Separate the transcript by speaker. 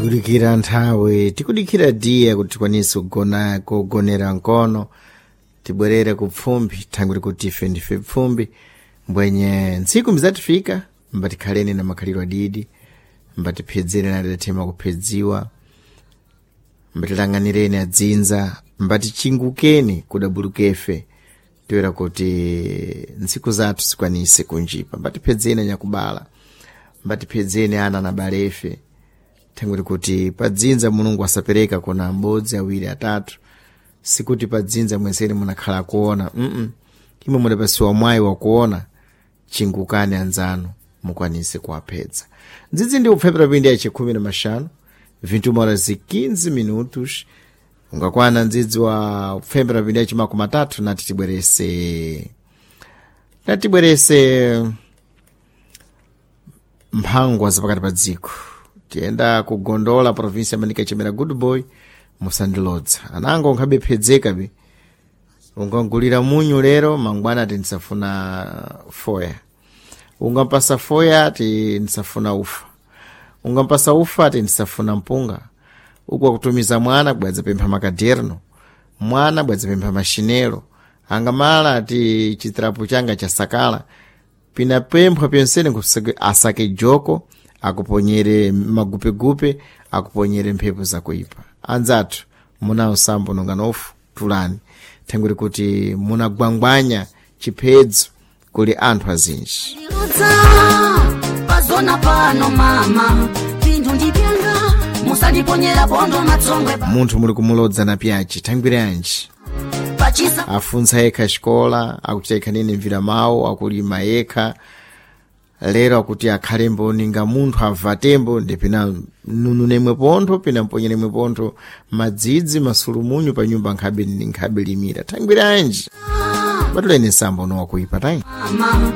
Speaker 1: Tikudikira nthawi, tikudikira diya kuti tikwanise kugona kugonera mkono, tibwerere ku pfumbi, thangwi likuti ife ndife pfumbi. Mbwenye ntsiku mbizatifika mbatikhaleni na makhalidwe adidi, mbatiphedzere na adathema kuphedziwa, mbatilang'anireni adzinza, mbatichingukeni kudabulukefe, toera kuti ntsiku zathu zikwanise kunjipa. Mbatiphedzeni anyakubala, mbatiphedzeni ana na balefe, thangwi likuti padzinza Mulungu asapereka kona m'bodzi, awiri, atatu. Sikuti padzinza mwenseni munakhala kuona, imwe mudapasiwa mwayi wakuona. Chingukani anzanu, mukwanise kuwaphedza. Ndzidzi ndi kupfepera pindi ya chikhumi na maxanu, 21 horas e 15 minutos. Ungakwana ndzidzi wa kupfembera pindi ya chimakumi atatu, nati tibwerese, nati tibwerese mphangwa zapakati pa dziko. Tiyenda kugondola provinsi ya Manica, chimera Good Boy musandilodza anango nkhabephedzeka bi. Ungagulira munyu lero, mangwana ati ndisafuna foya. Ungampasa foya, ati ndisafuna ufa. Ungampasa ufa, ati ndisafuna mpunga. Uku akutumiza mwana bwadzapempha makaderno, mwana bwadzapempha mashinelo. Angamala ati chitirapu changa chasakala. Pinapemphwa pyonsene asake joko akuponyere magupegupe, akuponyere mphepo zakuipa. Anzathu, munawo sambo nonganofu, tulani, thangwi kuti munagwangwanya chiphedzo kuli anthu azinji.
Speaker 2: Ndiludza pazona pano mama, pinthu ndipyanga, musandiponyera bondo matsongwe
Speaker 1: Munthu muli kumulodza na pyachi, thangwire anji?
Speaker 2: Pachisa.
Speaker 1: Afuntsa yekha xikola, akuchita yekha nene mvira mawu, akulima yekha. Lero akuti akhalembo ninga munthu avatembo, ndipina nununemwe pontho, pina mponyenemwe pontho madzidzi masulumunyu pa nyumba, nkhabe nkhabe limira. Thangwire anji? Batuleni nsambo nowakuipa tayi.
Speaker 2: Mama.